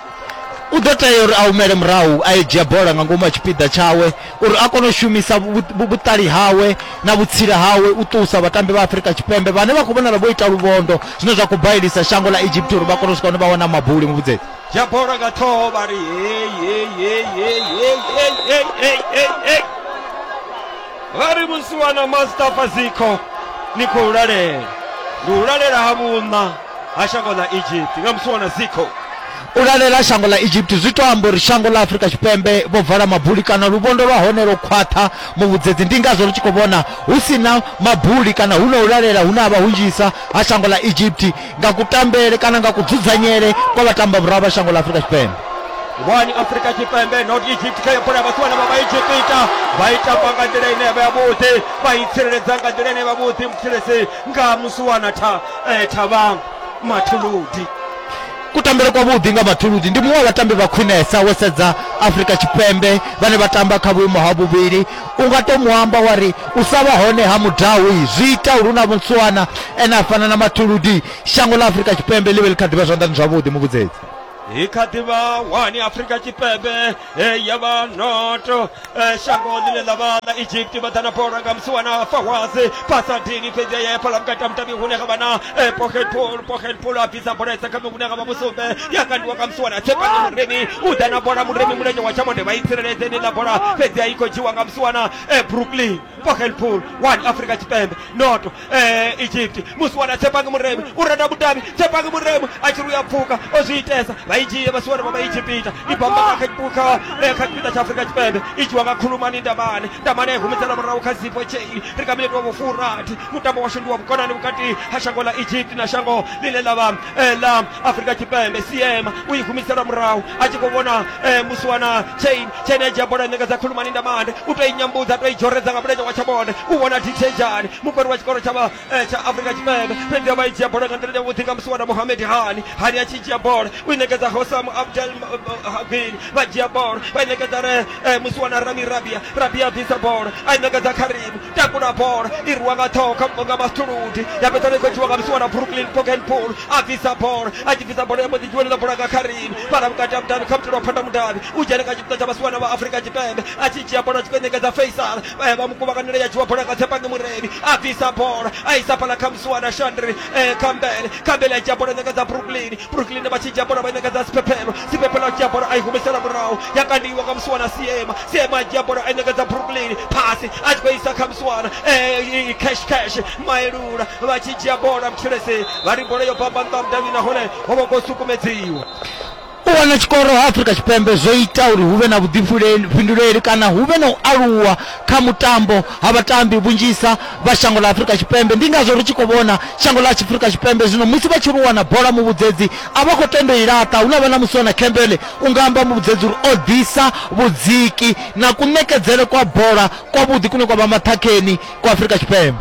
U ḓo tea uri a humele murahu a dzhia bola nga ngomu ha tshipiḓa tshawe uri a kone u shumisa vhuṱali hawe na vhutsila hawe u ṱusa vhatambi vha Afrika Tshipembe vhane vha khou vhonala vho ita luvhondo, zwine zwa khou bailisa shango ḽa Egypt uri vha kone u swika hune vha wana mabuli. Muvhudzedzi dzhia bola nga ṱhoho vha ri hei hei hei hei hei hei hei hei hei vha ri musiwana Mustafa Ziko ni khou lalela, ndi u lalela ha vhuṋa ha shango ḽa Egypt nga musiwana Ziko. U lalela shango ḽa Egypt zwi to amba uri shango ḽa Afrika Tshipembe vho vala mabuli kana luvhondo lwa hone lwo khwaṱha. Muvhudzedzi ndi ngazwo ri tshi khou vhona hu si na mabuli kana hu na u lalela hune ha vha hunzhisa ha shango ḽa Egypt nga kutambele kana nga kudzudzanyele kwa vhatamba murahu vha shango ḽa Afrika Tshipembe. One Afrika Tshipembe not Egypt kha bola vhasiwana vha Egypta vha i tamba nga nḓila ine ya vha yavhuḓi, vha i tsireledza nga nḓila ine ya vha vhuḓi muthetshelesi nga musiwana tha Thabang Mathuludi. Kutambele kwa vhuḓi nga Mathuludi ndi muṅwe wa vhatambi vha khwinesa wo sedza Afrika Tshipembe vhane vha tamba kha vhuimo ha vhuvhili. U nga to muamba wa ri u sa vha hone ha Mudawi zwi ita uri na musiwana ene a fana na Mathuludi shango ḽa Afrika Tshipembe ḽi vhe ḽi kha ḓivha zwanḓani zwavhuḓi. Muvhudzedzi i kha ḓivha wani Afrika Tshipembe ya vha noto shango ḽine ḽa vha ḽa Egypt vha ḓa na bola nga musiwana Fawaz Pasadini, fhedzi ya fhaḽa vhukati ha mudavhi hune ha vha na Pochenpool. Pochenpool a bvisa bola isa kha hune ha vha vhusumbe ya kandiwa nga musiwana Tshepani Muremi u ḓa na bola Muremi mulenzhe wa tshamonde vha i tsireledze ḽa bola fhedzi i khou dzhiwa nga musiwana Brooklyn. Pochenpool one Afrika Tshipembe noto Egypt. Musiwana Tshepani Muremi u renda mudavhi Tshepani Muremi a tshi ri u ya pfuka o zwi itesa vha i dzhie vhasiwana vha Egypta i bamba nga kha kha tshipiḓa tsha Afrika Tshipembe i dzhiwa nga Khulumani Ndamane. Ndamane a humisela murahu kha Zipho Chei. Ri kha minete wa vhufurathi mutambo washu ndi wa vhukonani vhukati ha shango ḽa Egypt na shango ḽine ḽa vha ḽa Afrika Tshipembe. Siema u i humisela murahu a tshi khou vhona musiwana Chain. Chain a dzhia bola ṋekedza Khulumani Ndamane u tou i nyambudza tou i dzhoredza nga mulenzhe wa tshamonde u vhona Dithejani mukoni wa tshikolo tsha tsha Afrika Tshipembe, fhedzi vha i dzhia bola nga nḓila yavhuḓi nga musiwana Mohamed Hani. Hani a tshi dzhia bola u i ṋekedza ṋekedza Hosam Abdel Hagil vha dzhia bola vha ṋekedza re musiwana Rami Rabia Rabia bvisa bola a ṋekedza Karim takula bola i rwa nga ṱhoho nga Mastuludi ya fhedza i khou dzhiwa nga musiwana Brooklyn Pokenpool a bvisa bola a tshi bvisa bola ya mbo ḓi dzhiwa bola nga Karim fhala vhukati ha mudavhi kha mutelo wa phanḓa mudavhi u dzhena kha tshipiḓa tsha vhasiwana vha Afrika Tshipembe a tshi dzhia bola tshi khou ṋekedza Faisal vha mukuvhanganela ya dzhiwa bola nga Tsepangi Muremi a bvisa bola a isa fhala kha musiwana Shandri Kambele Kambele a dzhia bola ṋekedza Brooklyn Brooklyn vha tshi dzhia bola vha ṋekedza Siphephelo Siphephelo a dzhia bola a i humisela murahu ya kandiwa nga musiwana Siema Siema a dzhia bola a ṋekedza Brooklyn phasi a tshi khou isa kha musiwana Cash Cash Maelula vha tshi dzhia bola Mtshilesi vha ri bola yo bamba nṱha mudavhi nahone ho vha khou sukumedziwa. U wana tshikoro ha Afrika Tshipembe zwo ita uri hu vhe na vhuḓifhinduleli kana hu vhe na u aluwa kha mutambo ha vhatambi vhunzhisa vha shango ḽa Afrika Tshipembe. Ndi ngazwo ri tshi khou vhona shango ḽa Afrika Tshipembe zwino musi vha tshi ri wana bola muvhudzedzi a vha khou tenda i laṱa. Hu na vha na musiwana Campbell u nga amba muvhudzedzi uri o ḓisa vhudziki na kuṋekedzele kwa bola kwavhuḓi kune kwa vha maṱhakheni kwa Afrika Tshipembe.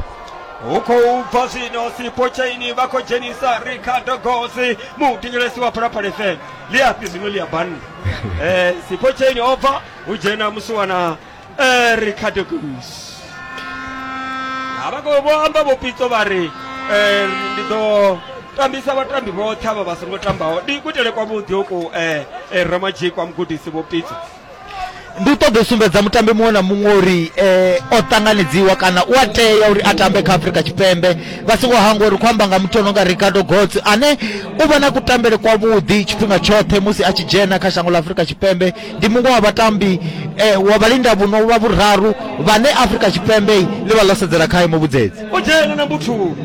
Hu khou bva zwino Sipho Chaine vha khou dzhenisa Ricardo Gosi muthetshelesi wa Phalaphala F M ḽi afhi zwino ḽi a banna. Eh Sipho Chaine o bva hu dzhena musiwana eh Ricardo Gosi. Ha vha khou vho amba vho Pitso vha ri eh ndi ḓo tambisa vhatambi vhoṱhe avha vha songo tambaho. Ndi kuitele kwavhuḓi hoku eh Ramadzhi kwa mugudisi vho Pitso. Ndi u ṱoḓa u sumbedza mutambi muṅwe na muṅwe uri eh, o ṱanganedziwa kana u a tea uri a tambe kha Afrika Tshipembe. Vha songo hangwa uri khou amba nga muthu ono nga Ricardo Gosi ane u vha na kutambele kwavhuḓi tshifhinga tshoṱhe musi a tshi dzhena kha shango ḽa Afrika Tshipembe. Ndi muṅwe wa vhatambi eh, wa vhalinda vhuno vha vhuraru vhane Afrika Tshipembe ḽi vha ḽo sedzela khae muvhudzedzi. O dzhena na muthu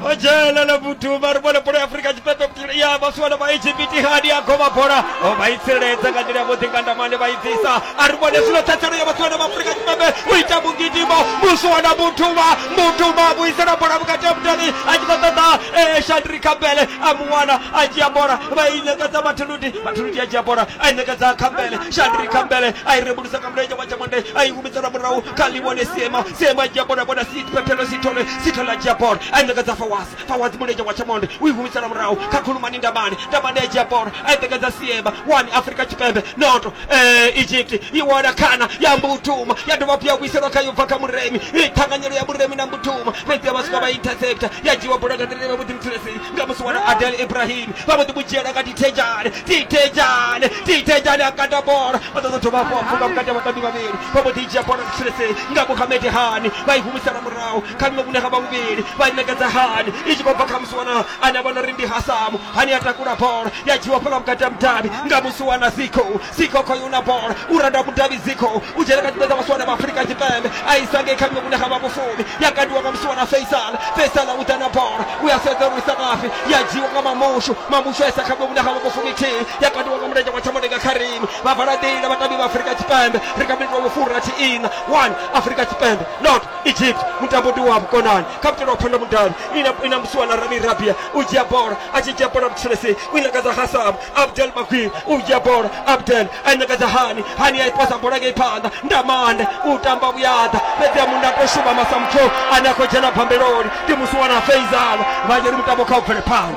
o dzhena na muthu vha ri vhone bola ya Afrika Tshipembe ya vhasiwana vha Egypt hani ya govha bola o vha i tsireledza nga nḓila yavhuḓi nga ndamane vha i bvisa. A ri vhone zwino ṱhatselo ya vhasiwana vha Afrika Tshipembe u ita mugidimo musiwana Mutuma Mutuma vhuisela bola vhukati ha mudavhi a tshi khou ṱoḓa Shandri Kambele a muwana a dzhia bola vha i ṋekedza Mathuludi Mathuludi a dzhia bola a i ṋekedza Kambele Shandri Kambele a i rembulusa nga mulenzhe wa tshamonde a i humisela murahu kha Liwone Siema Siema a dzhia bola bona Siphephelo Sithole Sithole a dzhia bola a i ṋekedza Fawaz Fawaz mulenzhe wa tshamonde u i humisela murahu kha Khulumani Ndamane Ndamane a dzhia bola a i ṋekedza Siema one Afrika Tshipembe noto eh, Egypt i wana khana ya Mbutuma ya dovha hafhu ya vhuiselwa kha yo bva kha Muremi i ṱhanganyelo ya Muremi na Mbutuma fhedzi ya vha swika vha interceptor ya dzhiwa bola nga nḓila yavhuḓi Mtshilesi nga musiwana Adel Ibrahim vha mbo ḓi mu dzhiela nga Dithejane Dithejane Dithejane a kanda bola vha ḓo dovha hafhu pfuka vhukati ha vhatambi vhavhili vha mbo ḓi dzhia bola Mtshilesi nga Mohamed Hani vha i humisela murahu kha miṅwe vhune ha vha vhuvhili vha i ṋekedza Hani i tshi khou bva kha musiwana ane a vhona uri ndi Hasamu Hani a takula bola ya dzhiwa fhala vhukati ha mudavhi nga musiwana Ziko Ziko khoyu na bola u randa mudavhi Ziko u dzhena kha tshipiḓa vhasiwana vha Afrika Tshipembe a isa ngei kha miṅwe vhune ha vha vhufumi ya kandiwa nga musiwana Faisal Faisal u ḓa na bola u ya sedza uri isa ngafhi ya dzhiwa nga Mamushu Mamushu a isa kha miṅwe vhune ha vha vhufumi thihi ya kandiwa nga mulenzhe wa tshamonde nga Karim vha vala nḓila vhatambi vha Afrika Tshipembe ri kha miniti wa vhufurathi ina one Afrika Tshipembe not Egypt mutambo ndi wa vhukonani kha mutelo wa phanḓa mudavhi ina ina musiwana Rami Rabia u dzhia bola a tshi dzhia bola Mtshilesi u i ṋekedza Hassam Abdel Maguire u dzhia bola Abdel a i ṋekedza Hani Hani a i posa bola ngei phanḓa Ndamane u tamba vhuyaḓa fhedzi a munna to shuma Masamtho ane a khou dzhena bambeloni ndi musiwana Faisal vha ri mutambo kha u bvele phanḓa.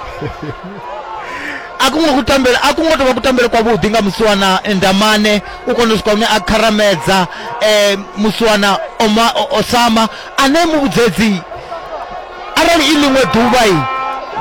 A kungo kutambele a kungo tovha kutambele kwavhuḓi nga musiwana Ndamane u kona u swika hune a kharamedza eh, musiwana Oma, Osama ane muvhudzedzi arali i ḽiṅwe ḓuvha i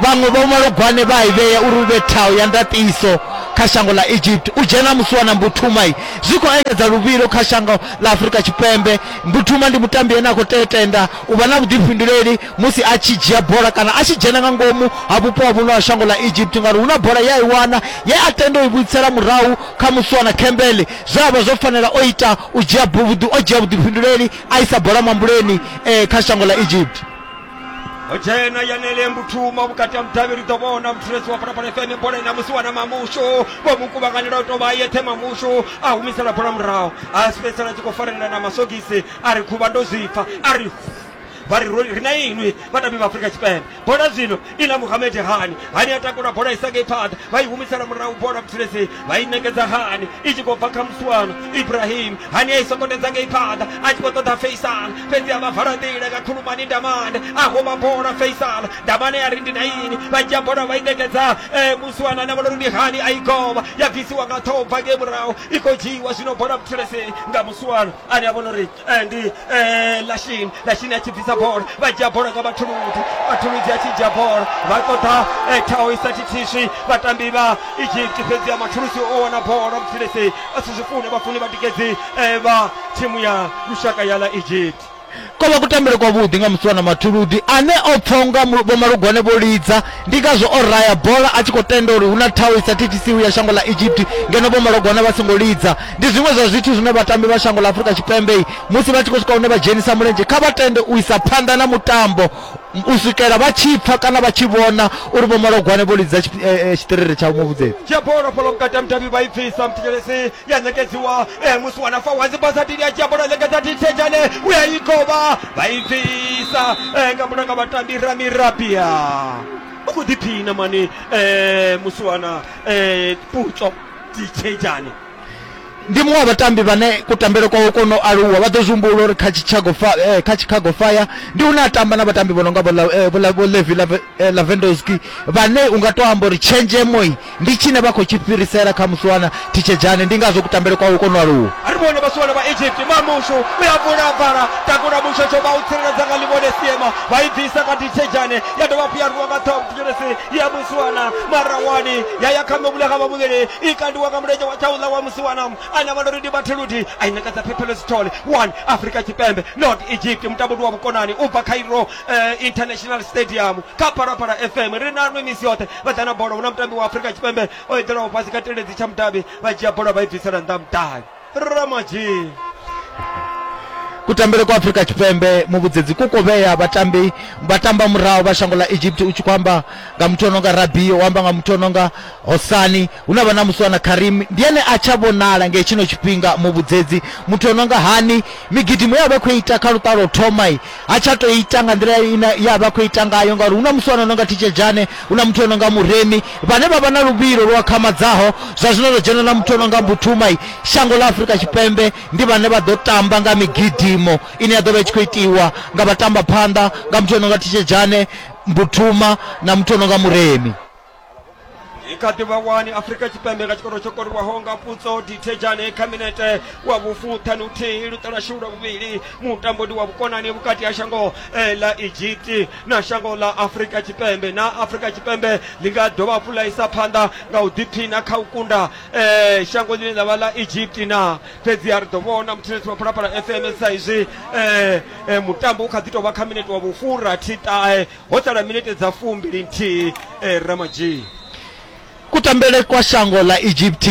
vhaṅwe vho malogwane vha i vhea uri hu vhe thaho ya ndaṱiso kha shango ḽa Egypt. U dzhena musiwana Mbuthuma zwi khou engedza luvhilo kha shango ḽa Afrika Tshipembe. Mbuthuma ndi mutambi ane a khou tea tenda u vha na vhuḓifhinduleli musi a tshi dzhia bola kana a tshi dzhena nga ngomu ha vhupo ha vhuno ha shango ḽa Egypt, ngauri hu na bola ye a i wana ye a tenda u i vhuisela murahu kha musiwana Campbell. Zwe a vha zwo fanela o ita u dzhia o dzhia vhuḓifhinduleli a isa bola mambuleni eh, kha shango ḽa Egypt. O dzhena Yanele Mbuthuma vhukati ha mudavhi ri ḓo vhona muthulesi wa Phalaphala F M bola ina musiwana Mamushu vho mu kuvhanganela u tou vha yeṱhe Mamushu a humisela bola murahu a fhedzisela a tshi khou farelela na masogisi a ri khuvha ndo zwi pfa a ri Vha ri ri na inwi vhatambi vha Afrika Tshipembe. Bola zwino ina Mohamed Hani, Hani a takula bola isa ngei phanḓa, vha i humisela murahu bola mthulesi, vha i ṋekedza Hani i tshi khou bva kha Muswana Ibrahim. Hani a i sokotedza ngei phanḓa a tshi khou ṱoḓa Faisal, fhedzi a vha vala nḓila nga Khulumani Ndamane, a huma bola Faisal Ndamane a ri ndi na ini, vha dzhia bola vha i ṋekedza eh, Muswana na vhona uri ndi Hani a i govha ya bvisiwa nga ṱhoho bva ngei murahu, i khou dzhiiwa zwino bola mthulesi nga Muswana ane a vhona uri eh, ndi eh, Lashin Lashin a tshi bvisa bola, vha dzhia bola nga Mathuludi, Mathuludi a tshi dzhia bola vha ṱoḓa eh, thaho i sa thithiswi vhatambi vha Egypt, fhedzi ya Mathulusi o wana bola mthulesi a si zwi fune vhafuni vhatikedzi eh, vha thimu ya lushaka ya ḽa Egypt. Ko vha kutambele kwa vhuḓi nga Muswana Mathuludi ane o pfa unga vho Malugwane vho lidza, ndi ngazwo o raya bola a tshi khou tenda uri hu na thaho i sa thithisiwi ya shango ḽa Egypt ngeno vho Malugwane vha songo lidza. Ndi zwiṅwe zwa zwithu zwine vhatambi vha shango ḽa Afrika Tshipembe musi vha tshi khou swika hune vha dzhenisa mulenzhe kha vha tende u isa phanḓa na mutambo u swikela vha tshi pfa kana vha tshi vhona uri vho Malugwane vho lidza tshiṱiriri tsha muvhudzedzi. Dzhia bola fhalo vhukati ha mudavhi vha i bvisa mthetshelesi ya ṋekedziwa eh, Muswana Fawazi Basadini a dzhia bola ṋekedza Dithejane u ya i govha vha i bvisa eh, nga murahu nga vhatambi Rami Rabia. U khou ḓiphina mani eh, Muswana eh, Putso Dithejane. Ndi muṅwe wa vhatambi vhane kutambele kwawe kwo no aluwa, vha ḓo zwi humbula uri kha Chicago eh, kha Chicago Fire ndi hune a tamba na vhatambi vho no nga vho Levi Lavendowski vhane u nga to amba uri tshenzhemo ndi tshine vha khou tshi fhirisela kha Muswana Thitshedzane, ndi ngazwo kutambele kwawe kwo no aluwa. A ri vhone vhasiwana vha Egypt, Mamushu u ya vula vala takula Mushosho vha u tsireledza nga Livhone Siema, vha i bvisa nga Thitshedzane ya dovha hafhu ya rwiwa nga ṱhoho mthetshelesi ya Muswana Marawani ya ya kha muvhulaha wa vhuvhili i kandiwa nga mulenzhe wa tshauḽa wa Muswana ane vha uri ndi Mathuludi a i ṋekedza Phephelo Sithole. One Afrika Tshipembe not Egypt. Mutambo ndi wa vhukonani u bva Cairo eh, International Stadium kha Phalaphala F M. Ri na nwe misi yoṱhe vha ḓa na bola, hu na mutambi wa Afrika Tshipembe o eḓelaho fhasi kha teledzi tsha mudavhi, vha dzhia bola vha i bvisela nnḓa mudavhi. Ramaji Kutambele kwa Afrika Tshipembe muvhudzedzi ku khou vhea vhatambi vha tamba murahu vha shango ḽa Egypt, u tshi khou amba nga muthu ono nga Rabio, u amba nga muthu ono nga Hosani, hu na vha na Muswana Karim ndi ene a tsha vhonala nge tshino tshifhinga muvhudzedzi. Muthu ono nga Hani migidimo ya vha khou ita kha luṱa lwo thoma ha tsha to ita nga nḓila ine ya vha khou ita ngayo, ngauri hu na Muswana ono nga Thitshedzane, hu na muthu ono nga Muremi vhane vha vha na luvhilo lwa khamadzaho. Zwa zwino ro dzhena na muthu ono nga Mbuthuma. Shango ḽa Afrika Tshipembe ndi vhane vha ḓo tamba nga migidimo ine ya ḓo vha i tshi khou itiwa nga vhatamba phanḓa nga muthu ono nga Thitshedzane, Mbuthuma na muthu ono nga Muremi. I kha ḓi vha wani Afrika Tshipembe nga tshikoro tsho koriwaho nga Putso Dithejane kha minete wa vhufuṱhanu thihi luṱa lwashu lwa vhuvhili. Mutambo ndi wa vhukonani vhukati ha shango eh, ḽa Egypt na shango ḽa Afrika Tshipembe. Na Afrika Tshipembe ḽi nga dovha hafhu ḽa isa phanḓa nga u ḓiphina kha u kunda eh, shango ḽine ḽa vha ḽa Egypt na, fhedzi a ri ḓo vhona muthetshelesi wa Phalaphala F M sa izwi eh, eh, mutambo u kha ḓi tou vha kha minete wa vhufurathi ṱahe, ho sala minete dza fumbili nthihi eh, Ramaji. Kutambele kwa shango ḽa Egypt,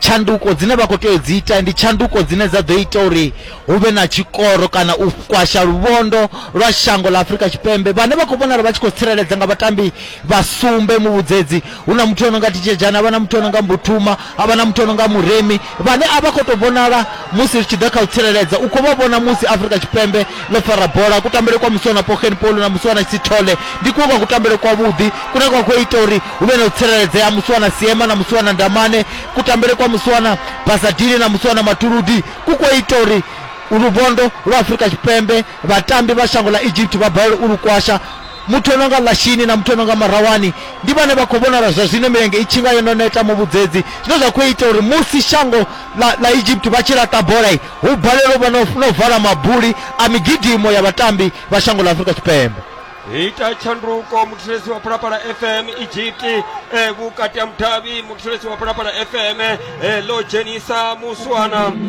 tshanduko dzine vha khou tea u dzi ita ndi tshanduko dzine dza ḓo ita uri hu vhe na tshikoro kana u kwasha luvhondo lwa shango ḽa Afrika Tshipembe. Vhane vha khou vhonala vha tshi khou tsireledza nga vhatambi vha sumbe muvhudzedzi, hu na muthu ono nga Thitshedzane, havha na muthu ono nga Mbuthuma, havha na muthu ono nga Muremi, vhane a vha khou tou vhonala musi ri tshi ḓa kha u tsireledza. U khou vha vhona musi Afrika Tshipembe ḽo fara bola. Kutambele kwa Muswana Pogen Polo na Muswana Sithole ndi kuṅwe kwa kutambele kwavhuḓi kune kwa khou ita uri hu vhe na u tsireledzea Muswana Siema na Muswana Ndamane. Kutambele kwa Muswana Basadini na Muswana Mathuludi ku khou ita uri luvhondo lwa Afrika Tshipembe vhatambi vha shango ḽa Egypt vha balelwe u lu kwasha. Muthu ono nga Lashini na muthu ono nga Marawani ndi vhane vha khou vhonala zwa zwino milenge i tshi nga yo no neta muvhudzedzi, zwine zwa khou ita uri musi shango ḽa, ḽa Egypt vha tshi laṱa bola hu balelwe u vha no vala mabuli a migidimo ya vhatambi vha shango ḽa Afrika Tshipembe. Ita tshanduko muthetshelesi wa Phalaphala F M Egypt eh, vhukati ha mudavhi muthetshelesi wa Phalaphala F M eh, ḽo dzhenisa Muswana